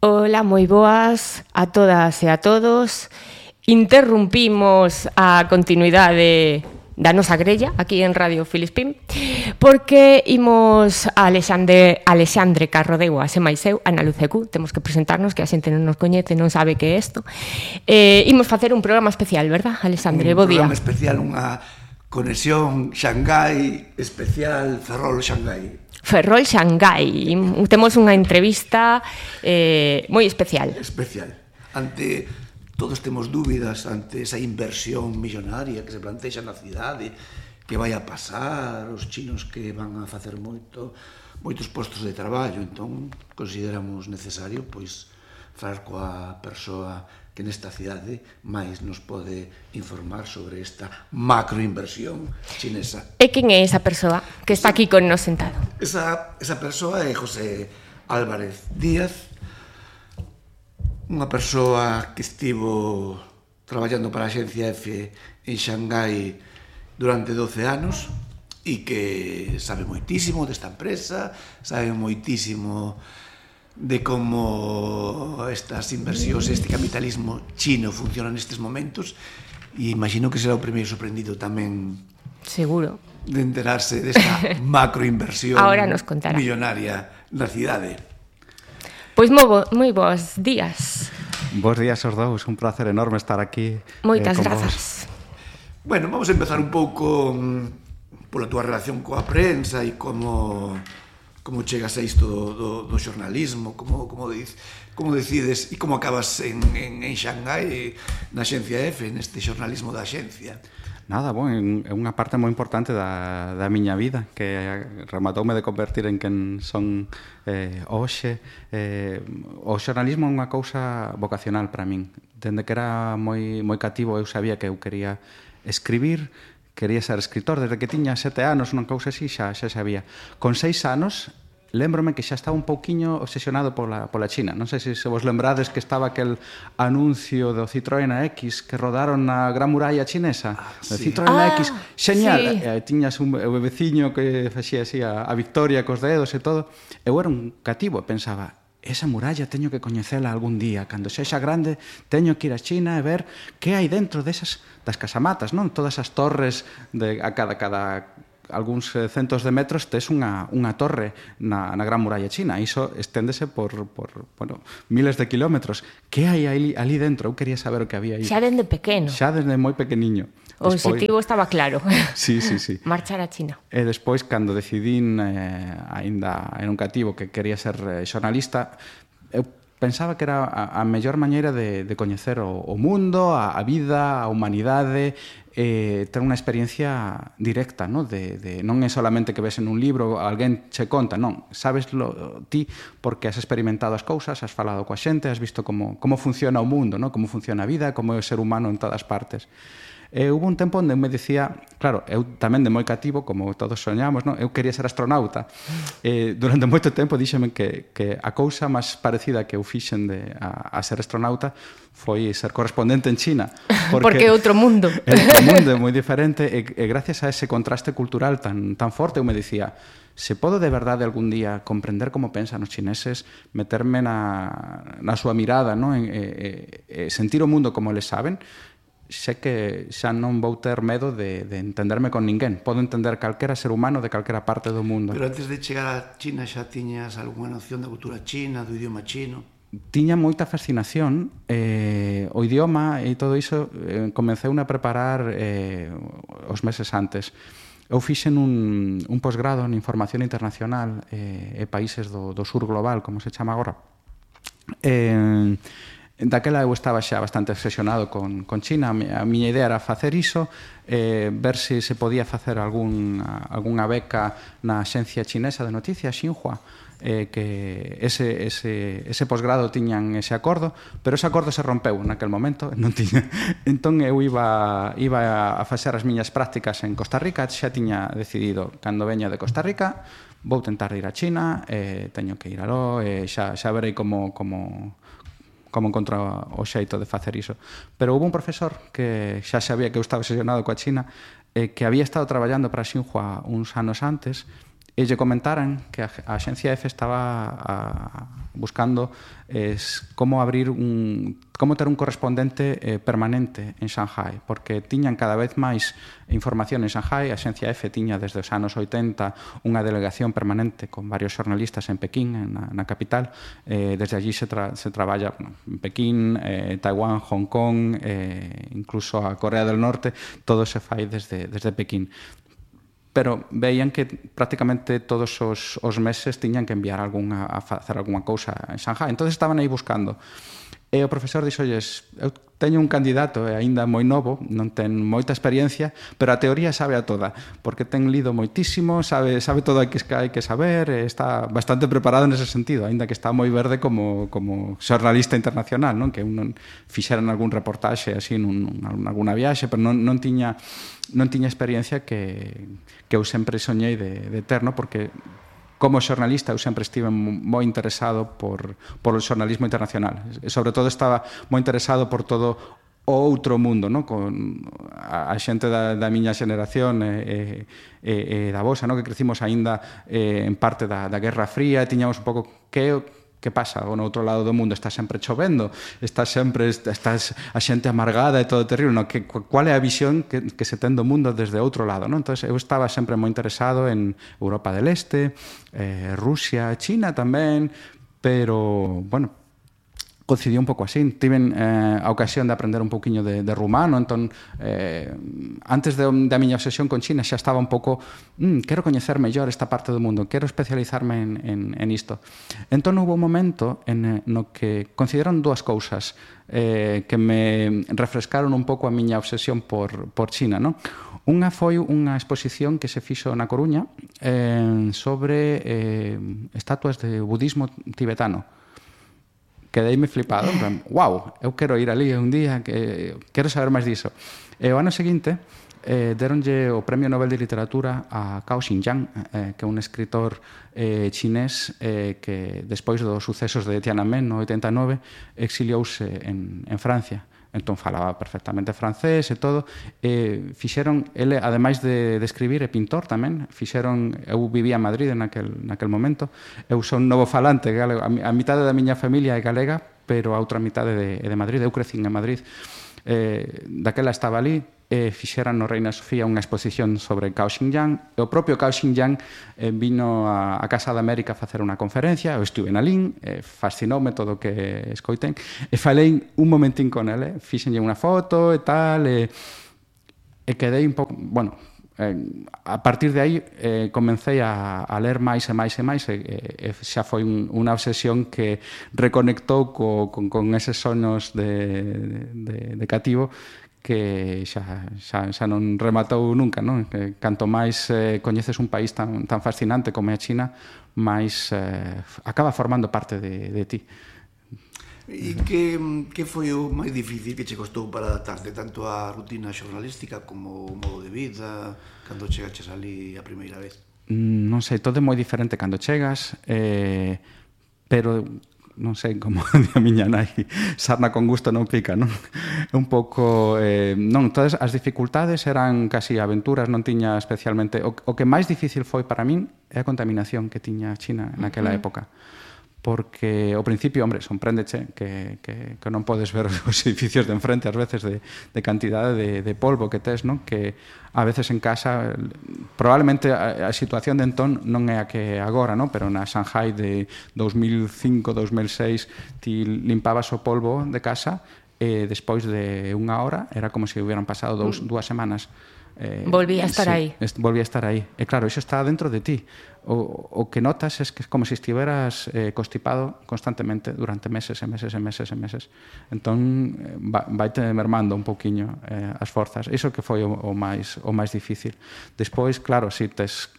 Ola, moi boas a todas e a todos. Interrumpimos a continuidade da nosa grella aquí en Radio Filispín porque imos a Alexandre Carrodeu, a se máis eu, Ana Lucecu. Temos que presentarnos, que a xente non nos coñece, non sabe que é isto. Imos facer un programa especial, verdad, Alexandre? Bo día. Un programa especial, unha conexión Xangai especial, Ferrol-Xangai. Ferrol-Xangai. Temos unha entrevista moi especial. Especial. Todos temos dúbidas ante esa inversión millonaria que se plantexa na cidade, que vai a pasar, os chinos que van a facer moitos postos de traballo. Entón, consideramos necesario, falar coa persoa que nesta cidade máis nos pode informar sobre esta macroinversión chinesa. E quen é esa persoa que está aquí con nos sentado? Esa persoa é José Álvarez Díaz, unha persoa que estivo traballando para a Axencia F en Xangai durante 12 anos e que sabe moitísimo desta empresa, sabe moitísimo de como estas inversións, este capitalismo chino funciona nestes momentos, e imagino que será o primeiro sorprendido tamén, seguro, de enterarse desta macroinversión millonaria na cidade. Pois moi bons días. Bos días aos dous, un placer enorme estar aquí. Moitas grazas. Bueno, vamos a empezar un pouco pola túa relación coa prensa e como chegas a isto do xornalismo, como decides e como acabas en Xangai, na Axencia F, neste xornalismo da axencia. Nada, é unha parte moi importante da miña vida, que rematoume de convertir en quen son hoxe. O xornalismo é unha cousa vocacional para min. Dende que era moi cativo eu sabía que eu quería escribir, quería ser escritor. Desde que tiña 7 anos, unha cousa así, xa sabía. Con 6 anos, lémbrome que xa estaba un pouquiño obsesionado pola China. Non sei se vos lembrades que estaba aquel anuncio do Citroën X que rodaron na Gran Muralla Chinesa. O Citroën X, xeñal. Tiñas un veciño que facía así a victoria cos dedos e todo. Eu era un cativo e pensaba, esa muralla teño que coñecela algún día. Cando sexa grande, teño que ir a China e ver que hai dentro das casamatas, non? Todas as torres a cada algúns centos de metros tes unha torre na Gran Muralla China. Iso esténdese por miles de kilómetros. Que hai ali dentro? Eu quería saber o que había aí. Xa dende pequeno. Xa desde moi pequeniño. O objetivo estaba claro. Sí. Marchar a China. E despois, cando decidín, aínda en un cativo, que quería ser xornalista, eu pensaba que era a mellor maneira de coñecer o mundo, a vida, a humanidade, ter unha experiencia directa, non é solamente que ves en un libro, alguén che conta, non, sabeslo ti porque has experimentado as cousas, has falado coa xente, has visto como funciona o mundo, non? Como funciona a vida, como é o ser humano en todas partes. Hubo un tempo onde me dicía, claro, eu tamén de moi cativo, como todos soñamos, non? Eu quería ser astronauta. Durante moito tempo díxeme que a cousa máis parecida que eu fixen a ser astronauta foi ser correspondente en China. Porque é outro mundo. É outro mundo, é moi diferente, e gracias a ese contraste cultural tan forte, eu me dicía, se podo de verdade algún día comprender como pensan os chineses, meterme na súa mirada, non? Sentir o mundo como eles saben, sé que xa non vou ter medo de entenderme con ninguén. Podo entender calquera ser humano de calquera parte do mundo. Pero antes de chegar a China xa tiñas algunha noción da cultura china, do idioma chino? Tiña moita fascinación. O idioma e todo iso comecei a preparar os meses antes. Eu fixen un posgrado en Información Internacional e Países do Sur Global, como se chama agora. Daquela eu estaba xa bastante obsesionado con China. A miña idea era facer iso, ver se podía facer algunha beca na axencia chinesa de noticias, Xinhua, que ese posgrado tiñan ese acordo, pero ese acordo se rompeu naquel momento, non tiña. Entón eu iba a facer as miñas prácticas en Costa Rica, xa tiña decidido, cando veña de Costa Rica, vou tentar ir a China, teño que ir aló, xa verei como encontro o xeito de facer iso. Pero houve un profesor que xa sabía que eu estaba obsesionado coa China, que había estado traballando para Xinhua uns anos antes, e lle comentaran que a Axencia F estaba buscando es como ter un correspondente permanente en Shanghai, porque tiñan cada vez máis información en Shanghai. A Axencia EFE tiña desde os anos 80 unha delegación permanente con varios xornalistas en Pekín, na capital. Desde allí se traballa en Pekín, Taiwán, Hong Kong, incluso a Corea del Norte, todo se fai desde Pekín. Pero veían que prácticamente todos os meses tiñan que enviar a facer algunha cousa en Shanghai. Entón estaban aí buscando. E o profesor dixolles: eu teño un candidato aínda moi novo, non ten moita experiencia, pero a teoría sabe a toda, porque ten lido moitísimo, sabe todo o que hai que saber, está bastante preparado nese sentido, aínda que está moi verde como xornalista internacional, non? Que non fixeran algún reportaxe así nalgúna viaxe, pero non tiña experiencia que eu sempre soñei de ter, non? Porque como xornalista eu sempre estive moi interesado por o xornalismo internacional. E sobre todo estaba moi interesado por todo o outro mundo, non? Con a xente da miña xeneración e da vosa, non? Que crecimos aínda en parte da Guerra Fría, e tiñamos un pouco que pasa no outro lado do mundo. Está sempre chovendo, está a xente amargada e todo terrible, non? Cual é a visión que se ten do mundo desde outro lado, non? Entón, eu estaba sempre moi interesado en Europa del Este, Rusia, China tamén, pero, bueno, coincidiu un pouco así. Tiven a ocasión de aprender un pouquiño de rumano, entón, antes da miña obsesión con China xa estaba un pouco, quero coñecer mellor esta parte do mundo, quero especializarme en isto. Entón, houve un momento no que consideraron dúas cousas que me refrescaron un pouco a miña obsesión por China, non? Unha foi unha exposición que se fixo na Coruña sobre estatuas de budismo tibetano. Quedeime flipado, en plan, wow, eu quero ir ali un día, quero saber máis diso. E o ano seguinte deronlle o Premio Nobel de Literatura a Cao Xinjiang, que é un escritor chinés que despois dos sucesos de Tiananmen no 89 exiliouse en Francia. Entón falaba perfectamente francés e todo. Fixeron, ele, ademais de escribir, é pintor tamén. Eu vivía en Madrid naquel momento. Eu son novo falante galego. A mitade da miña familia é galega, pero a outra mitade é de Madrid. Eu crecín en Madrid. Daquela estaba ali. Fixeran no Reina Sofía unha exposición sobre Cao Xinjiang. E o propio Cao Xinjiang vino a Casa de América a facer unha conferencia. Eu estuve na LIN, fascinoume todo o que escoiten, e falei un momentín con ele, fixenlle unha foto e tal, e quedei un pouco, bueno, a partir de aí comecei a ler máis e máis e máis, e xa foi unha obsesión que reconectou con eses sonos de cativo, que xa non rematou nunca, non? Que canto máis coñeces un país tan fascinante como é a China, máis acaba formando parte de ti. E que foi o máis difícil que che costou para adaptarte tanto á rutina xornalística como o modo de vida cando chegaches ali a primeira vez? Non sei, todo é moi diferente cando chegas, pero non sei, como a miña nai, sarna con gusto non pica, non? Un pouco, non, todas as dificultades eran casi aventuras, non tiña especialmente, o que máis difícil foi para min é a contaminación que tiña China naquela época, porque ao principio, hombre, sorpréndeche que non podes ver os edificios de enfrente ás veces de cantidade de polvo que tes, non? Que a veces en casa, probablemente a situación de entón non é a que agora, non? Pero na Shanghai de 2005-2006 ti limpabas o polvo de casa e despois de unha hora era como se hubieran pasado dúas semanas. Volvía a estar aí. Volvía a estar aí. E claro, iso está dentro de ti. O que notas é que é como se estiveras constipado constantemente durante meses e meses e meses e meses. Entón, vaite mermando un pouquiño as forzas. Iso que foi o máis difícil. Despois, claro, si tes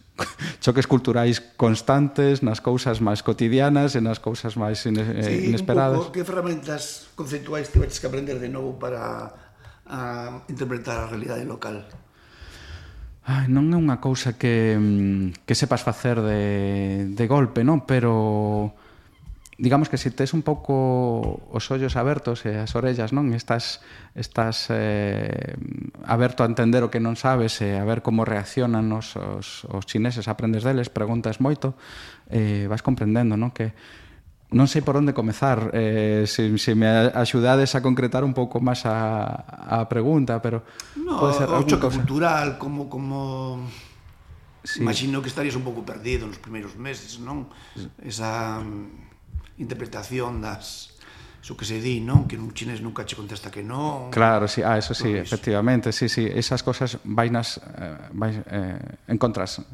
choques culturais constantes nas cousas máis cotidianas e nas cousas máis inesperadas. Un pouco, que ferramentas conceptuais tiveches que aprender de novo para interpretar a realidade local? Non é unha cousa que sepas facer de golpe, non? Pero digamos que se tes un pouco os ollos abertos e as orellas, non? Estás aberto a entender o que non sabes e a ver como reaccionan os chineses, aprendes deles, preguntas moito, vas comprendendo, non? Que non sei por onde comezar, se me axudades a concretar un pouco máis a pregunta, pero No, pode ser o choque cosa. cultural, como... Sí. Imagino que estarías un pouco perdido nos primeiros meses, non? Esa interpretación das... Iso que se di, non? Que un chinés nunca che contesta que non. Claro, sí, eso sí, Todo iso. efectivamente, sí, esas cosas vainas encontras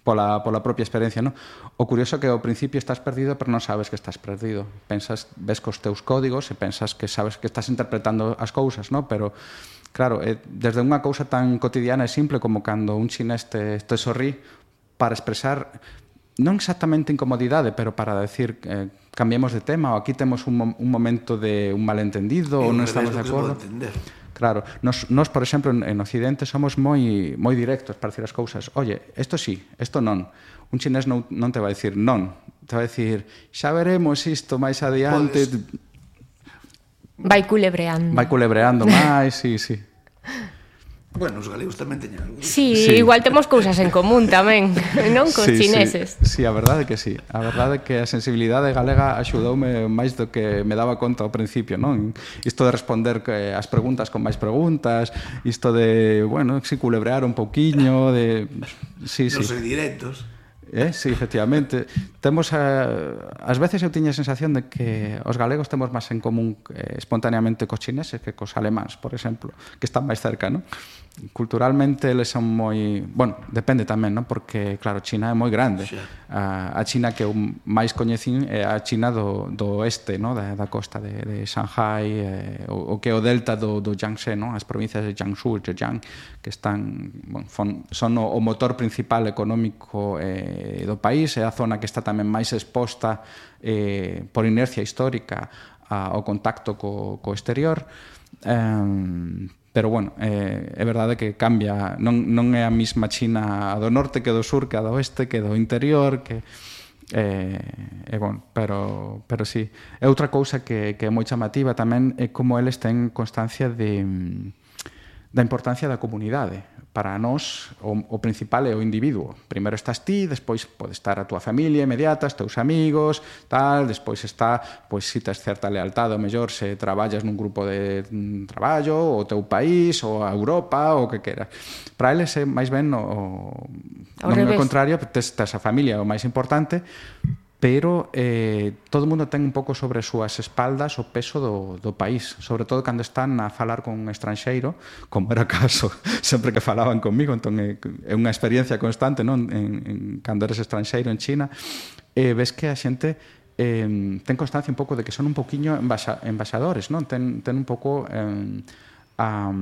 pola propia experiencia, non? O curioso que ao principio estás perdido, pero non sabes que estás perdido. Pensas, ves cos teus códigos e pensas que sabes que estás interpretando as cousas, non? Pero claro, desde unha cousa tan cotidiana e simple como cando un chinés te sorrí para expresar non exactamente incomodidade, pero para decir cambiemos de tema, ou aquí temos un momento de un malentendido, ou non estamos de acordo. Claro, nos por exemplo, en Occidente somos moi directos para decir as cousas. Oye, isto sí, isto non. Un chinés non te vai dicir non, te vai dicir xa veremos isto máis adiante. Vai culebreando. Vai culebreando máis, sí. Bueno, os galegos tamén teñen algo. Sí, igual temos cousas en común tamén, non? Cos chineses. Sí, a verdade que sí. A verdade que a sensibilidade galega axudoume máis do que me daba conta ao principio, non? Isto de responder as preguntas con máis preguntas, isto de, bueno, si culebrear un pouquiño, de... Sí. Non ser directos. Sí, efectivamente. Temos, ás veces eu tiña a sensación de que os galegos temos máis en común espontaneamente cos chineses que cos alemáns, por exemplo, que están máis cerca, non? Culturalmente eles son moi... Bueno, depende tamén, non? Porque, claro, China é moi grande. A China que eu máis coñecín é a China do oeste, non? Da costa de Shanghai, o que é o delta do Yangtze, non? As provincias de Jiangsu e Zhejiang, que están... Bueno, son o motor principal económico do país, é a zona que está tamén máis exposta por inercia histórica ao contacto co exterior. Pero, bueno, é verdade que cambia, non é a mesma China do norte que do sur, que a do oeste, que do interior, que... bueno, pero sí. E outra cousa que é moi chamativa tamén é como eles ten constancia da importancia da comunidade. Para nós, o principal é o individuo. Primeiro estás ti, despois pode estar a túa familia inmediata, os teus amigos, tal, despois está, pois, se tes certa lealtade, ou mellor, se traballas nun grupo de traballo, o teu país, ou a Europa, ou o que queras. Para eles é máis ben non é o contrario, tes a familia o máis importante, pero todo o mundo ten un pouco sobre as súas espaldas o peso do país, sobre todo cando están a falar con un estranxeiro, como era o caso sempre que falaban comigo, entón é unha experiencia constante, non? Cando eres estranxeiro en China, ves que a xente ten constancia un pouco de que son un pouquiño embaixadores, non? Ten un pouco a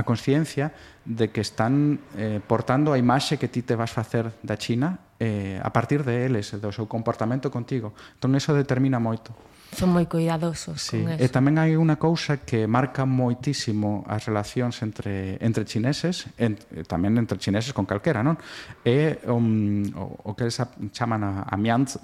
consciencia de que están portando a imaxe que ti te vas facer da China a partir de eles, do seu comportamento contigo. Entón, eso determina moito. Son moi cuidadosos con eso. E tamén hai unha cousa que marca moitísimo as relacións entre chineses, tamén entre chineses con calquera, non? É o que eles chaman a mianzi,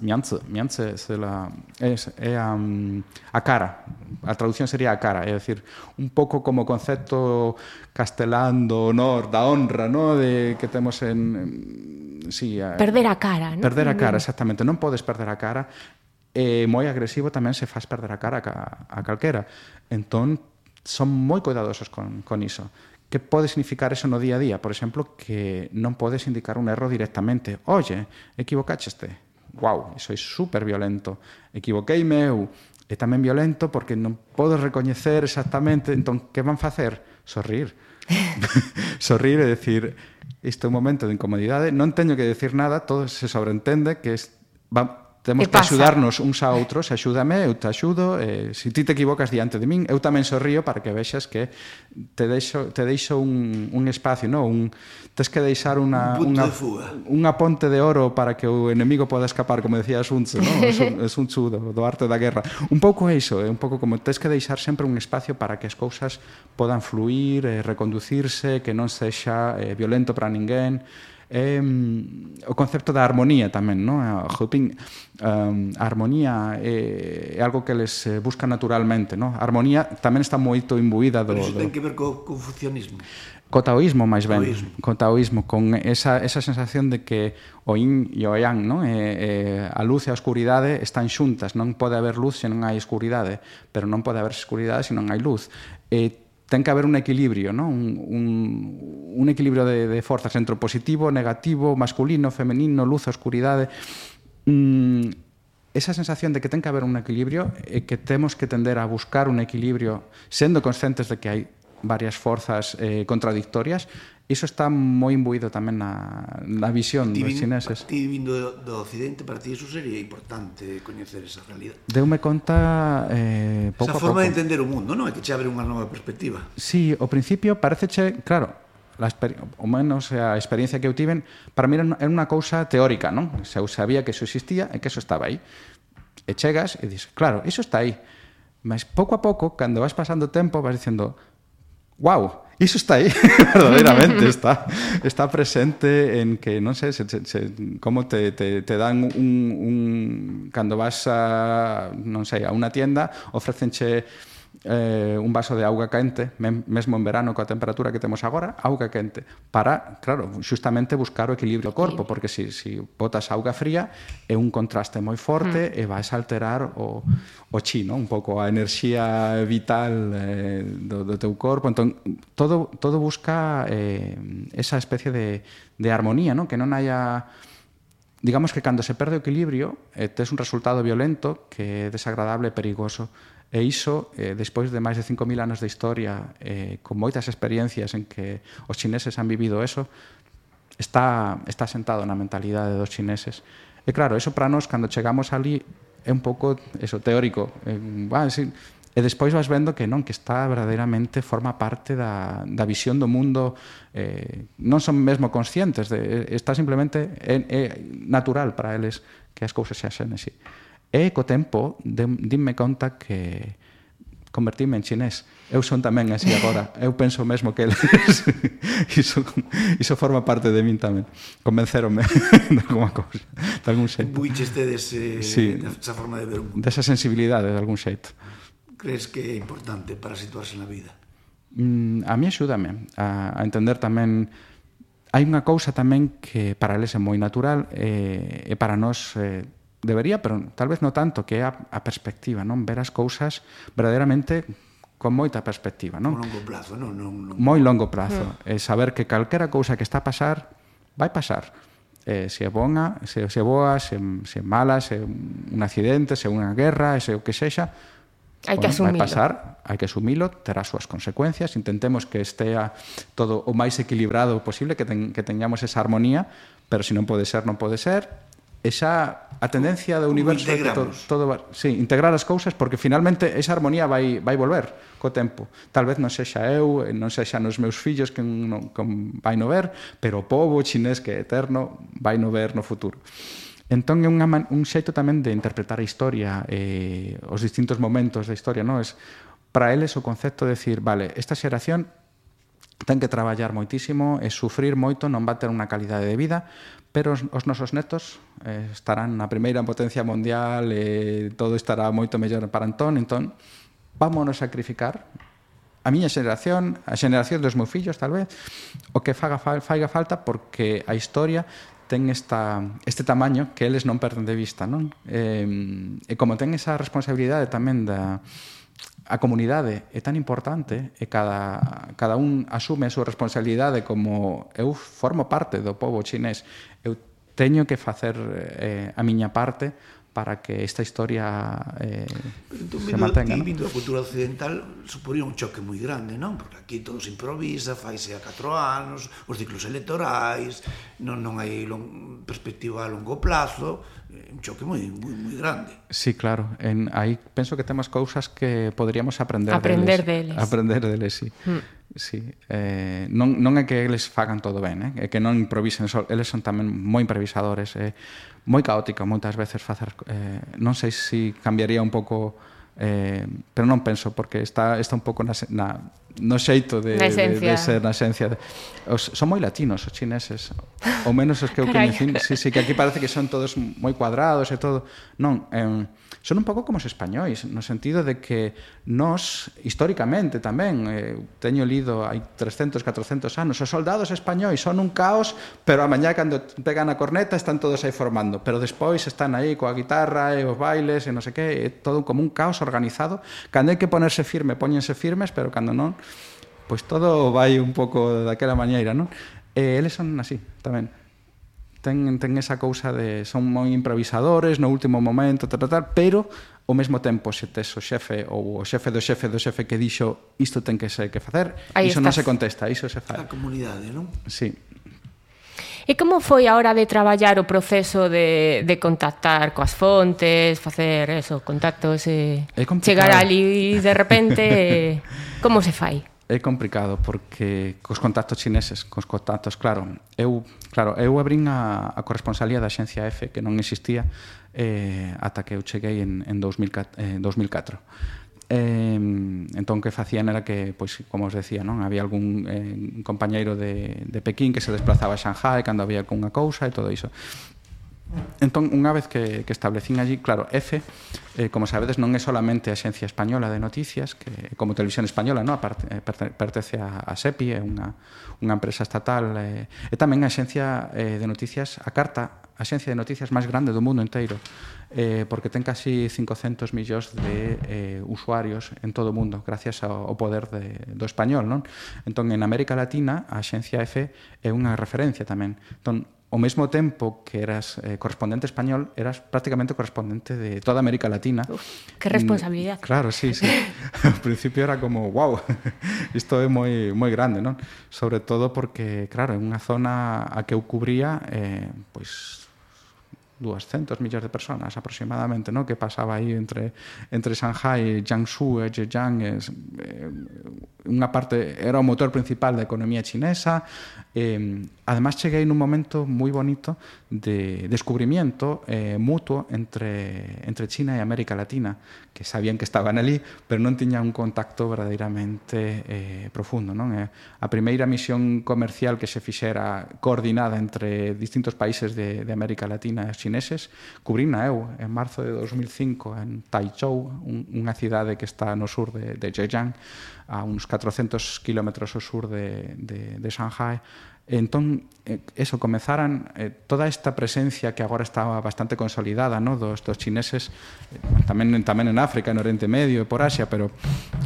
é a cara. A traducción sería a cara, é dicir, un pouco como o concepto castelán do honor, da honra, non? Que temos perder a cara, non? Perder a cara, exactamente. Non podes perder a cara. Moi agresivo tamén se faz perder a cara a calquera. Entón, son moi cuidadosos con iso. Que pode significar eso no día a día? Por exemplo, que non podes indicar un erro directamente. Oye, equivocácheste. Guau, iso é super violento. Equivoqueime eu. É tamén violento porque non podes recoñecer exactamente. Entón, que van facer? Sorrir. Sorrir e decir, isto é un momento de incomodidade, non teño que decir nada, todo se sobreentende que temos que axudarnos uns a outros, axúdame, eu te axudo, se ti te equivocas diante de min, eu tamén sorrío para que vexas que te deixo un espacio, non? Tes que deixar unha ponte de oro para que o enemigo poda escapar, como decía Sun Tzu, non? Sun Tzu do arte da guerra. Un pouco iso, é un pouco como tes que deixar sempre un espacio para que as cousas podan fluir, reconducirse, que non sexa violento para ninguén. o concepto da armonía tamén, non? A armonía é algo que eles buscan naturalmente, non? A armonía tamén está moito imbuída do... Pero iso ten que ver co confucianismo. Co taoísmo, máis ben. Co taoísmo, con esa sensación de que o yin e o yang, non? A luz e a oscuridade están xuntas. Non pode haber luz se non hai escuridade, pero non pode haber escuridade se non hai luz. Ten que haber un equilibrio, non? Un equilibrio de forzas entre o positivo, negativo, masculino, femenino, luz, oscuridade. Esa sensación de que ten que haber un equilibrio e que temos que tender a buscar un equilibrio sendo conscientes de que hai varias forzas contradictorias, iso está moi imbuído tamén na visión dos chineses. Ti vindo do Occidente, para ti iso sería importante coñecer esa realidade. Deume conta pouco a pouco. Esa forma de entender o mundo, non? É que che abre unha nova perspectiva. Sí, ao principio pareceche, claro, o menos a experiencia que eu tiven, para mí era unha cousa teórica, non? Eu sabía que iso existía e que iso estaba aí. E chegas e dices, claro, iso está aí. Mas pouco a pouco, cando vas pasando tempo, vas dicendo, wow, iso está aí, verdadeiramente está presente en que, non sei, como te dan cando vas a, non sei, a unha tienda, ofrecenche un vaso de auga quente, mesmo en verano coa temperatura que temos agora, auga quente, para, claro, justamente buscar o equilibrio do corpo, porque se botas auga fría é un contraste moi forte e vais a alterar o chi, non? Un pouco a enerxía vital do teu corpo. Entón, todo busca esa especie de armonía, non? Que non haya... Digamos que cando se perde o equilibrio, tes un resultado violento que é desagradable e perigoso. E iso, despois de máis de 5.000 anos de historia, con moitas experiencias en que os chineses han vivido eso, está sentado na mentalidade dos chineses. E claro, eso para nós, cando chegamos ali, é un pouco eso, teórico. E despois vas vendo que non, que está verdadeiramente, forma parte da visión do mundo, non son mesmo conscientes, está simplemente natural para eles que as cousas se axen así. E co tempo dinme conta que convertime en chinés. Eu son tamén así agora. Eu penso mesmo que eles iso forma parte de min tamén. Convenceronme de alguma cousa, de algún xeito. Buicheste desa forma de ver o mundo. Desa sensibilidade, de algún xeito. Crees que é importante para situarse na vida? A mí axúdame a entender tamén. Hai unha cousa tamén que para eles é moi natural e para nós debería, pero tal vez non tanto, que é a perspectiva, non? Ver as cousas verdadeiramente con moita perspectiva, non? Con longo plazo, non? Moi longo plazo. Saber que calquera cousa que está a pasar, vai pasar. Se é boa, se é mala, se é un accidente, se é unha guerra, se é o que sexa, hai que asumilo. Vai pasar, hai que asumilo, terá as súas consecuencias, intentemos que estea todo o máis equilibrado posible, que teñamos esa armonía, pero se non pode ser, non pode ser. Esa a tendencia do universo é que integrar as cousas, porque finalmente esa armonía vai volver co tempo. Tal vez non sexa eu, non sexa nos meus fillos que vai no ver, pero o pobo chinés que é eterno vai no ver no futuro. Entón é un xeito tamén de interpretar a historia, os distintos momentos da historia, non? Para eles o concepto de decir, vale, esta xeración ten que traballar moitísimo e sufrir moito, non va ter unha calidade de vida, pero os nosos netos estarán na primeira potencia mundial e todo estará moito mellor para entón vámonos sacrificar a miña xeración, a xeración dos meus fillos, tal vez, o que faiga falta, porque a historia ten este tamaño que eles non perden de vista, non? E como ten esa responsabilidade tamén a comunidade é tan importante e cada un asume a súa responsabilidade, como eu formo parte do pobo chinés, eu teño que facer a miña parte para que esta historia se mantenga. Vindo da cultura occidental suporía un choque moi grande, non? Porque aquí todo se improvisa, faise a 4 anos, os ciclos electorais, non hai perspectiva a longo plazo, un choque moi grande. Sí, claro. Aí penso que temos cousas que poderíamos aprender deles. Aprender deles, sí. Sí. Non é que eles fagan todo ben, é que non improvisen, eles son tamén moi improvisadores, moi caótica moitas veces facer, non sei se cambiaría un pouco, pero non penso, porque está un pouco no xeito de ser na esencia. Son moi latinos os chineses, ou menos os que eu coñecín. Sí, que aquí parece que son todos moi cuadrados e todo. Non, son un pouco como os españois, no sentido de que nós, históricamente tamén, teño lido hai 300, 400 anos, os soldados españois son un caos, pero a mañá cando pegan a corneta están todos aí formando, pero despois están aí coa guitarra e os bailes e non sei que, é todo como un caos organizado. Cando hai que ponerse firme, póñense firmes, pero cando non, pois todo vai un pouco daquela maneira, non? Eles son así, tamén. Ten esa cousa de son moi improvisadores no último momento, pero ao mesmo tempo se tes o xefe ou o xefe do xefe do xefe que dixo isto ten que ser que facer, iso non se contesta, iso se fai. A comunidade, non? Sí. E como foi a hora de traballar o proceso de contactar coas fontes, facer eso, contactos, chegar ali de repente, como se fai? É complicado porque cos contactos chineses, cos contactos, claro, eu abrín a corresponsalía da Axencia F, que non existía ata que eu cheguei en 2004. Entón, que facían era que, pois, como os decía, non había algún compañeiro de Pekín que se desplazaba a Shanghai cando había algunha cousa e todo iso. Entón, unha vez que establecín allí, claro, F, como sabedes, non é solamente a Axencia Española de Noticias, que como Televisión Española, non? Pertence a SEPI, é unha empresa estatal, e tamén a Axencia de Noticias, a Carta, a Axencia de Noticias máis grande do mundo inteiro, porque ten casi 500 millóns de usuarios en todo o mundo, gracias ao poder do español, non? Entón, en América Latina, a Axencia F é unha referencia tamén. Entón, ao mesmo tempo que eras correspondente español, eras prácticamente correspondente de toda América Latina. Uf, que responsabilidade. Claro, sí. Ao principio era como, wow, isto é moi grande, non? Sobre todo porque, claro, é unha zona a que eu cubría, pois 200 millóns de personas aproximadamente, ¿no? Que pasaba aí entre Shanghai, Jiangsu e Zhejiang, unha parte era o motor principal da economía chinesa. Además cheguei nun momento moi bonito de descubrimiento mutuo entre China e América Latina, que sabían que estaban ali, pero non tiñan un contacto verdadeiramente profundo, non? A primeira misión comercial que se fixera coordinada entre distintos países de América Latina e chineses, cubrina eu en marzo de 2005 en Taichou, unha cidade que está no sur de Zhejiang, a uns 400 kilómetros ao sur de Shanghai. Entón, eso, comenzaran toda esta presencia que agora estaba bastante consolidada, ¿no? dos chineses, tamén en África, en Oriente Medio e por Asia, pero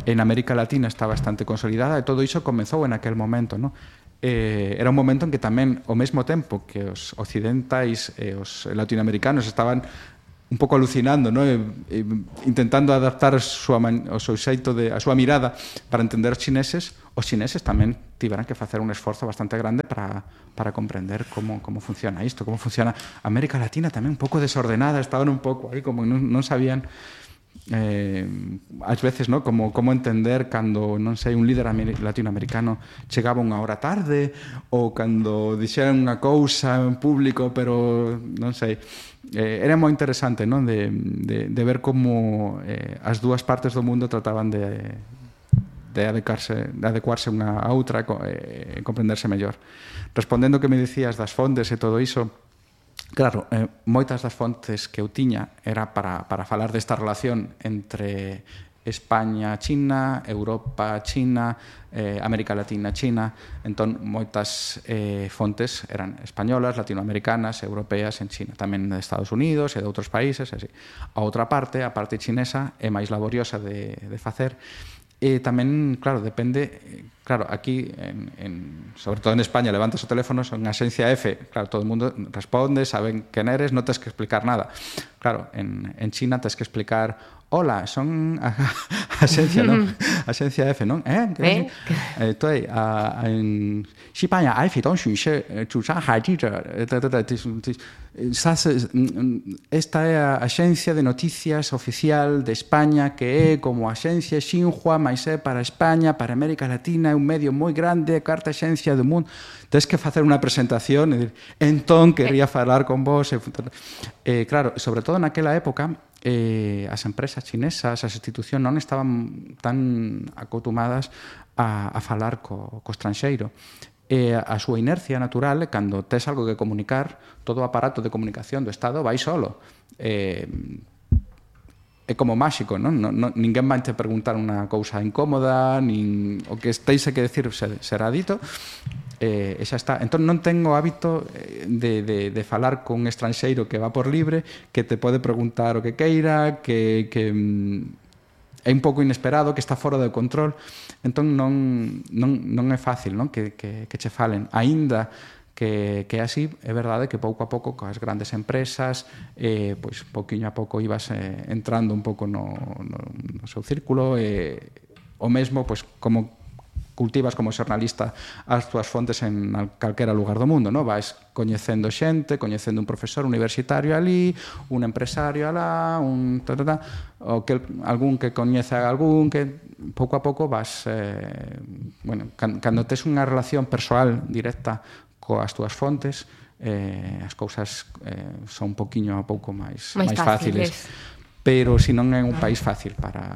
en América Latina está bastante consolidada, e todo iso comezou en aquel momento, ¿no? Era un momento en que tamén, ao mesmo tempo que os occidentais e os latinoamericanos estaban un pouco alucinando, ¿no? Intentando adaptar o seu xeito a súa mirada para entender os chineses tamén tiveran que facer un esforzo bastante grande para comprender como funciona isto, como funciona América Latina tamén un pouco desordenada, estaban un pouco aí como non sabían ás veces, ¿no? como entender cando, non sei, un líder latinoamericano chegaba unha hora tarde, ou cando dixeran unha cousa en público, pero non sei, era moi interesante, non? De ver como as dúas partes do mundo trataban de adecuarse unha a outra e comprenderse mellor. Respondendo o que me dicías das fontes e todo iso, claro, moitas das fontes que eu tiña era para falar desta relación entre España, China, Europa, China, América Latina, China. Entón, moitas fontes eran españolas, latinoamericanas, europeas en China, tamén de Estados Unidos e de outros países, así. A outra parte, a parte chinesa, é máis laboriosa de facer. E tamén, claro, depende, claro, aquí, sobre todo en España, levantas o teléfono, son Axencia F, claro, todo o mundo responde, saben quen eres, non tens que explicar nada. Claro, en China tens que explicar, hola, son Axencia, non? Axencia F, non? Dui, en Xipanya F 东巡视主张海记者esta é a Axencia de Noticias Oficial de España, que é como a Axencia Xinhua, mas é para España, para América Latina, é un medio moi grande, a cuarta axencia do mundo. Tens que facer unha presentación e dir, entón, quería falar con vos. Claro, sobre todo naquela época, as empresas chinesas, as institucións non estaban tan acostumadas a falar co estranxeiro. E a súa inercia natural é cando tes algo que comunicar, todo o aparato de comunicación do Estado vai solo. É como máxico, non? Ninguén vai te preguntar unha cousa incómoda, nin o que estéis que decir será dito, e xa está. Entón non tengo hábito de falar con un estranxeiro que va por libre, que te pode preguntar o que queira, que é un pouco inesperado, que está fora de control. Entón non é fácil, non? Que che falen. Aínda que é así, é verdade que pouco a pouco coas grandes empresas, pois pouquiño a pouco ibas entrando un pouco no seu círculo, o mesmo, pois, como cultivas como xornalista as túas fontes en calquera lugar do mundo, non? Vais coñecendo xente, coñecendo un profesor universitario ali, un empresario alá, algún que coñece a algún, que pouco a pouco vas... cando tes unha relación persoal directa coas túas fontes, as cousas son un poquinho a pouco máis fáciles. Pero si non é un país fácil para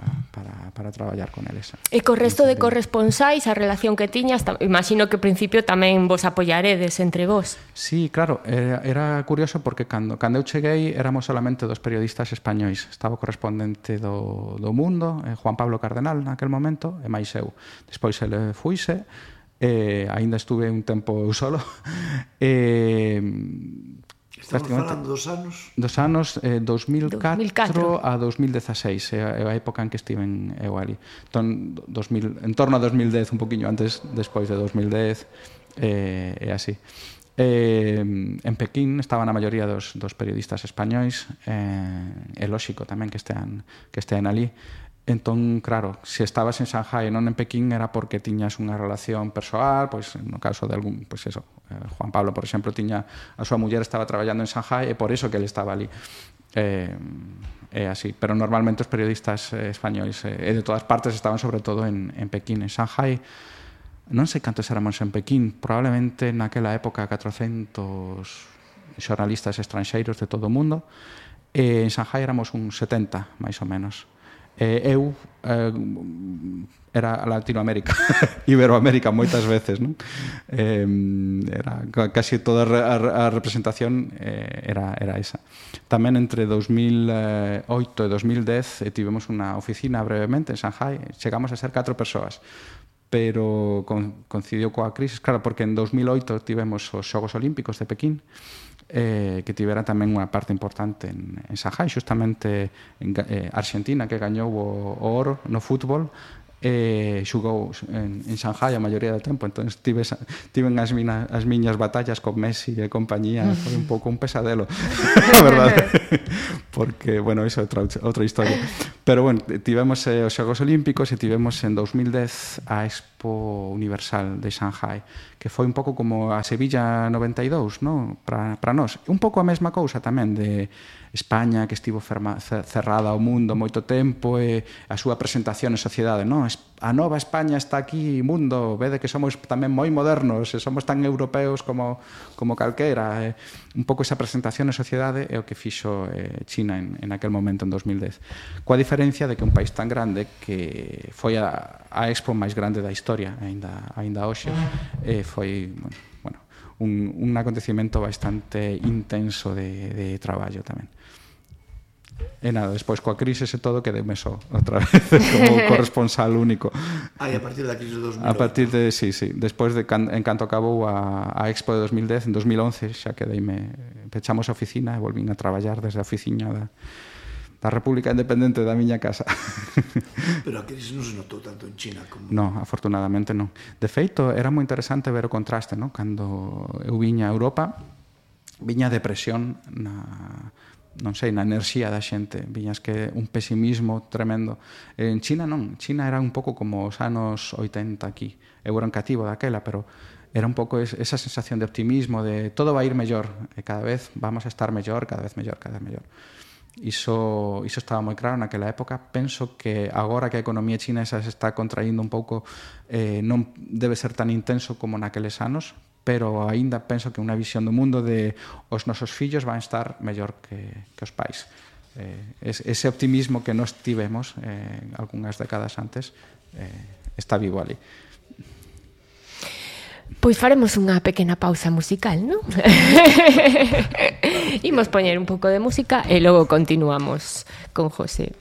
traballar con eles. E co resto de corresponsáis, a relación que tiñas, imagino que ao principio tamén vos apoyaredes entre vos. Sí, claro, era curioso porque cando eu cheguei éramos solamente 2 periodistas españois. Estaba o correspondente do Mundo, Juan Pablo Cardenal, naquel momento, e máis eu. Despois ele fuise, aínda estuve un tempo eu solo, Estamos falando dos anos? Dos anos 2004 a 2016, é a época en que estiven eu ali. Entón, en torno a 2010, un poquinho antes, despois de 2010, é así. En Pequín estaban a maioría dos periodistas españois, é lóxico tamén que estean ali. Entón, claro, se estabas en Shanghai e non en Pequín era porque tiñas unha relación persoal, pois no caso de algún, pois eso, Juan Pablo, por exemplo, tiña a súa muller estaba traballando en Shanghai e por eso que ele estaba ali. É así, pero normalmente os periodistas españois e de todas partes estaban sobre todo en Pequín. En Shanghai non sei cantos éramos en Pequín, probablemente naquela época 400 xornalistas estranxeiros de todo o mundo, e en Shanghai éramos un 70, máis ou menos. Eu era Latinoamérica, Iberoamérica moitas veces, non? Era casi toda a representación era esa. Tamén entre 2008 e 2010 tivemos unha oficina brevemente en Shanghai, chegamos a ser 4 persoas, pero coincidiu coa crisis, claro, porque en 2008 tivemos os Xogos Olímpicos de Pequín, que tivera tamén unha parte importante en Shanghai, xustamente Argentina, que gañou o oro no fútbol, xugou en Shanghai a maioría do tempo, entón tiven as miñas batallas con Messi e compañía, foi un pouco un pesadelo, a verdade, porque, bueno, iso é outra historia, pero, bueno, tivemos os Xogos Olímpicos e tivemos en 2010 a Expo Universal de Shanghai, que foi un pouco como a Sevilla 92, non? Para nós, un pouco a mesma cousa tamén de España, que estivo cerrada ao mundo moito tempo, e a súa presentación en sociedade, non? A nova España está aquí, mundo, vede que somos tamén moi modernos, e somos tan europeos como calquera. Un pouco esa presentación en sociedade é o que fixo China en aquel momento, en 2010. Coa diferencia de que un país tan grande, que foi a expo máis grande da historia, aínda hoxe, foi, bueno, un acontecimento bastante intenso de traballo tamén. E nada, despois coa crisis e todo quedeme só outra vez como corresponsal único. A partir da crisis de 2008. A partir de, sí, despois de en canto acabou a Expo de 2010, en 2011 xa pechamos a oficina e volvín a traballar desde a oficina da República Independente da miña casa. Pero a crisis non se notou tanto en China como... Non, afortunadamente non. De feito, era moi interesante ver o contraste, non? Cando eu viña a Europa, viña a depresión non sei, na enerxía da xente, viñas que un pesimismo tremendo. En China non, China era un pouco como os anos 80 aquí. Eu era un cativo daquela, pero era un pouco esa sensación de optimismo, de todo vai ir mellor, e cada vez vamos a estar mellor, cada vez mellor, cada vez mellor. Iso estaba moi claro naquela época. Penso que agora que a economía chinesa se está contraindo un pouco, non debe ser tan intenso como naqueles anos, pero aínda penso que unha visión do mundo de os nosos fillos van estar mellor que os pais. ese optimismo que nos tivemos algunhas décadas antes está vivo ali. Pois faremos unha pequena pausa musical, non? Imos poñer un pouco de música e logo continuamos con José.